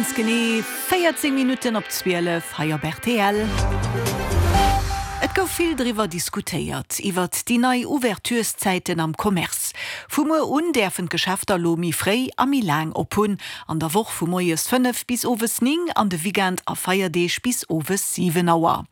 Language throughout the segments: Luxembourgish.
Ganz genee 14 Minutten op 12 hei op rtl. Et gouf vill driwwer diskutéiert, iwwert déi nei Ouvertureszäiten am Commerce. Vu muer un däerfen d'Geschäfter elo méi fréi a méi laang op hunn. An der Woch vu moies 5 bis owes 9 an de Weekend a Feierdeeg bis owes 7 Auer.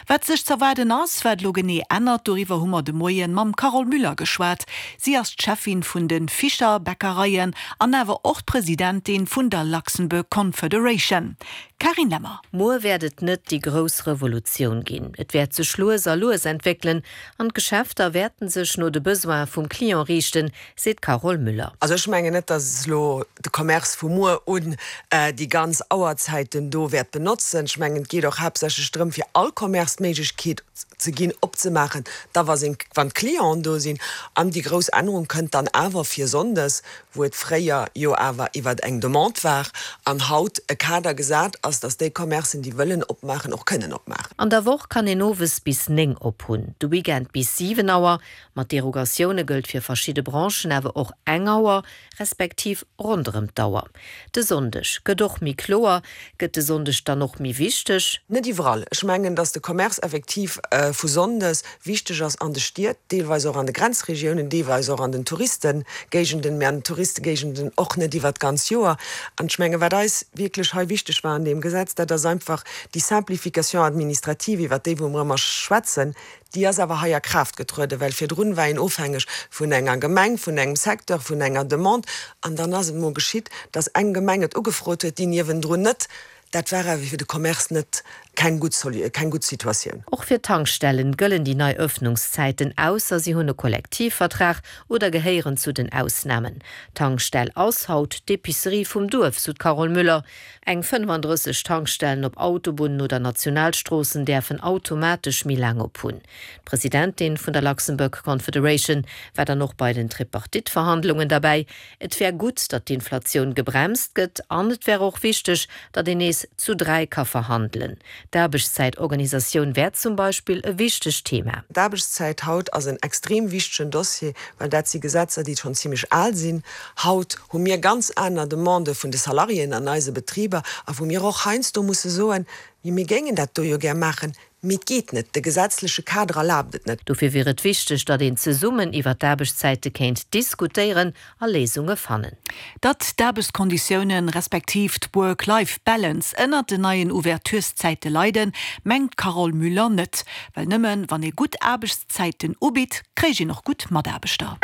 Wat sech z'erwaarden ass, wat elo genee ännert, doriwwer hu mer de Moien mam Carole Müller geschwat. Si ass d'Cheffin vun de Fischer Bäckereien an awer och d'Presidentin vun der Luxembourg Confederation. Carine Lemmer. Muer wäert et net déi grouss Revolutioun ginn. Et wäert sech lues a lues entwéckelen an d'Geschäfter wäerten sech no de Besoine vum Client riichten, seet d'Carole Müller. Also ech mengen net, datt elo de Commerce vu muer un déi ganz Auerzäiten do wäert benotzen. Ech mengen, et geet och haaptsächlech drëm, fir all Commerce d'Méiglechkeet ze ginn, opzemaachen, da wa seng, wann d'Clienten do sinn. An déi grouss Ännerung kënnt dann awer fir sonndes, wou et fréier jo awer iwwer eng Demande war an haut e Kader gesat ass, datt déi Commercen, déi wëllen opmaachen, och kënnen opmaachen. An der Woch kann een owes bis 9 op hunn, de Weekend bis 7 Auer. Mat Derogatioune gëllt fir verschidde Branchen awer och eng Auer, respektiv ronderëm d'Auer. De Sonndeg gëtt och méi kloer. Gëtt de Sonndeg dann och méi wichteg? Net iwwerall. Ech mengen, datt de Commerce effektiv vu Sonndes wichteg ass an de Stied, deelweis och an de Grenzregiounen, deelweis och an den Touristengéigenden, mä an den Touristengéigenden och net iwwert d'ganz Joer. An ech mengen, wat eis wierklech hei wichteg war an deem Gesetz, dat ass einfach déi Simplification administrative, iwwert déi wou mer ëmmer schwätzen, Déi ass awer hei a Kraaft getrueden, well virdrun war een ofhängeg vun enger Gemeng, vun engem Secteur, vun enger Demande. An dann ass et emol geschitt, dass eng Gemeng et ugefrot huet, déi niewendrun net. Dat war awer fir de Commerce net keng gutt keng gutt Situatioun. Och fir d'Tankstellen gëllen déi nei Öffnungszäiten, ausser si hunn e Kollektivvertrag oder gehéieren zu den Ausnamen. D'Tankstell ass haut d'Epicerie vum Duerf, sou d'Carole Müller. Eng 35 Tankstellen op Autobunnen oder Nationalstroossen däerfen automatesch méi laang op hunn. D'Presidentin vun der Luxembourg Confederation war dann och bei den Tripartite-Verhandlungen derbäi. Et wär gutt, datt d'Inflatioun gebremst gëtt an et wär och wichteg, datt een nees zu 3 ka verhandelen. D'Aarbechtszäitorganisatioun wär zum Beispill e wichtegt Thema. D'Aarbechtszäit haut ass en extrem wichtegen Dossier, well dat si Gesetzer, déi schonn zimmlech al sinn haut. hu mir ganz aner Demandë vun de Salariéen an eise Betriber a wou mir och heiansdo musse soen, Mee mir géingen dat do jo gär maachen, mee et geet net, de gesetzleche Kader erlaabt et net. Dofir wier et wichteg, datt een zesummen iwwer d'Aarbechtszäite kéint diskutéieren a Léisunge fannen. Datt d'Aarbechtskonditiounen, respektiv d'Work-Life-Balance ënnert den neien Ouvertureszäite leiden, mengt d'Carole Müller net. Well nëmmen wann ee gutt Aarbechtszäiten ubitt, kréich een och gutt Mataarbechter.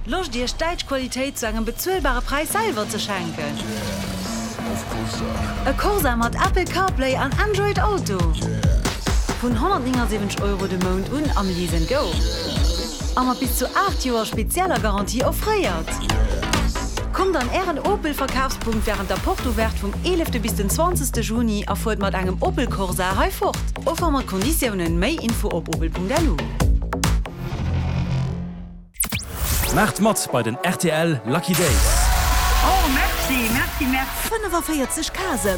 Loscht Iech däitsch Qualitéit zu engem bezuelbare Präis selwer ze schenken? E Corsa mat Apple CarPlay an Android Auto vun 179 Euro de Mount un am Lease and Go a mat bis zu 8 Joer spezieller Garantie offréiert. Kommt an Ären Opel Verkafspunkt wärend der Porte Ouverte vum 11 bis den 20 Juni a fuert mat engem Opel Corsa hei fort. Offer mat Konditiounen. Méi Info op opel.lu. Maacht mat bei den rtl Lucky Days! Oh merci, merci, merci. 45 Casen.